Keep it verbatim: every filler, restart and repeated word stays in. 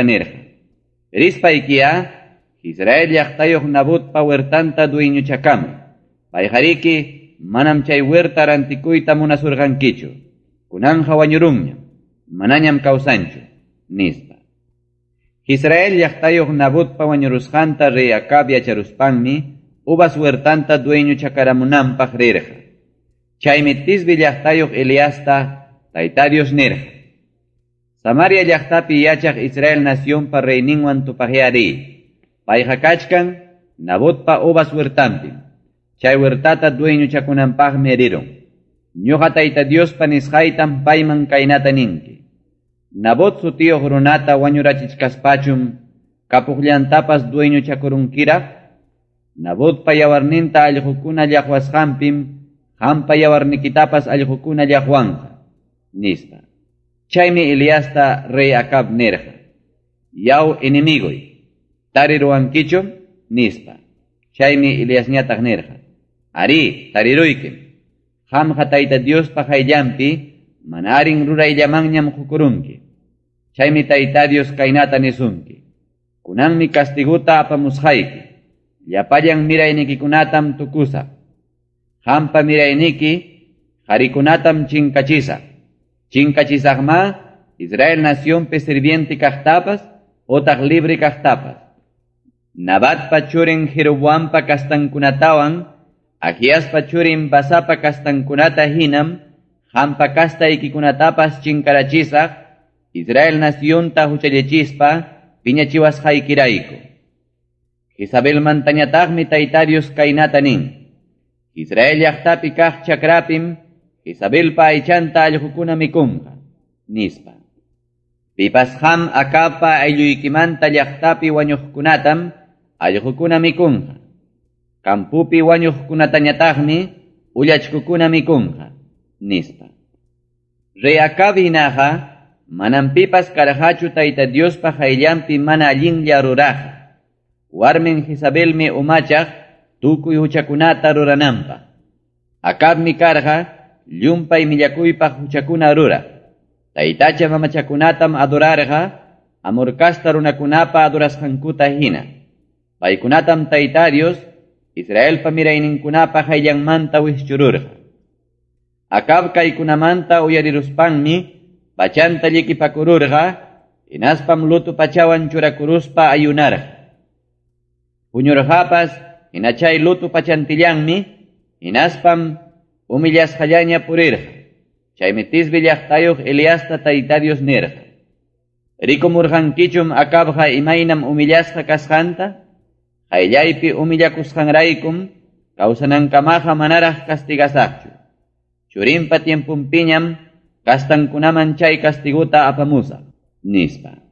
nirqa: Rispaykiya Israel llaqtayuq Nabotpa huertanta dueñochakamuy. Payqariki manam chay huerta rantikuyta munasurqankichu. Kunanqa wañurunñam, manañam kawsanchu, nispa. Israel llaqtayuq Nabotpa wañurusqanta rey Acab yacharuspanmi uvas huertanta dueñochakaramunanpaq rirqa. Chaymi Tisbi llaqtayuq Eliasta Tayta Dios nirqa: Samaria llaqtapi yachaq Israel nacionpa reyninwan tupaqya riy. Payqa kachkan Nabotpa uvas huertanpim. Chay huertata dueñochakunanpaqmi rirun. Ñuqa Tayta Diospa nisqaytam payman kaynata ninki: Nabot sutiyuq runata wañurachichkaspachum kapuqllantapas dueñochakurunkiraq. Nabotpa yawarninta allqukuna llaqwasqanpim qampa yawarnikitapas allqukuna llaqwanqa, nispa. Chaymi Eliasta rey Acab nirqa: Yaw enemigoy, tariruwankichum, nispa. Chaymi Eliasñataq nirqa: Arí, tariruykim. Qamqa Tayta Diospa qayllanpi mana allin rurayllamanñam qukurunki. Chaymi Tayta Dios kaynata nisunki: Kunanmi castiguta apamusqayki. Llapallan miraynikikunatam tukusaq. Qampa mirayniki qarikunatam chinkachisaq. Chinkachisaqma Israel nacionpi sirviente kaqtapas otaq libre kaqtapas. Nabatpa churin Jeroboampa kastankunatawan Ahiaspa churin Basapa kastankunata hinam qampa kastaykikunatapas chinkarachisaq Israel nacionta huchallichispa piñachiwasqaykirayku. Jezabelmantañataqmi Tayta Dios kaynata nin: Israel llaqtapi kaq chakrapim Jezabelpa aychanta allqukuna mikunqa, nispa. Pipas qam Acabpa aylluykimanta llaqtapi wañuqkunatam allqukuna mikunqa. Campopi wañuqkunatañataqmi ullachkukuna mikunqa, nispa. Rey Acab hinaqa manam pipas karqachu Tayta Diospa qayllanpi mana allinlla ruraqqa. Warmin Jezabelmi umachaq tukuy huchakunata rurananpaq. Acabmi karqa llumpay millakuypaq huchakuna ruraq. Taytacha mamachakunatam adorarqa Amor casta runakunapa adorasqankuta hina. Paykunatam Tayta Dios Israelpa mirayninkunapa qayllanmanta wischururqa. Acab kaykunamanta uyariruspanmi pachanta llikipakururqa, hinaspam luto pachawan churakuruspa ayunarqa. Puñurqapas hina chay luto pachantillanmi, hinaspam humillasqallaña purirqa. Chaymi Tisbi llaqtayuq Eliasta Tayta Dios nirqa: Rikumurqankichum Acabqa imaynam humillasqa kasqanta? Qayllaypi humillakusqanraykum kawsanankamaqa manaraq castigasaqchu. Churinpa tiempunpiñam kastankunaman chay castiguta apamusaq, nispa.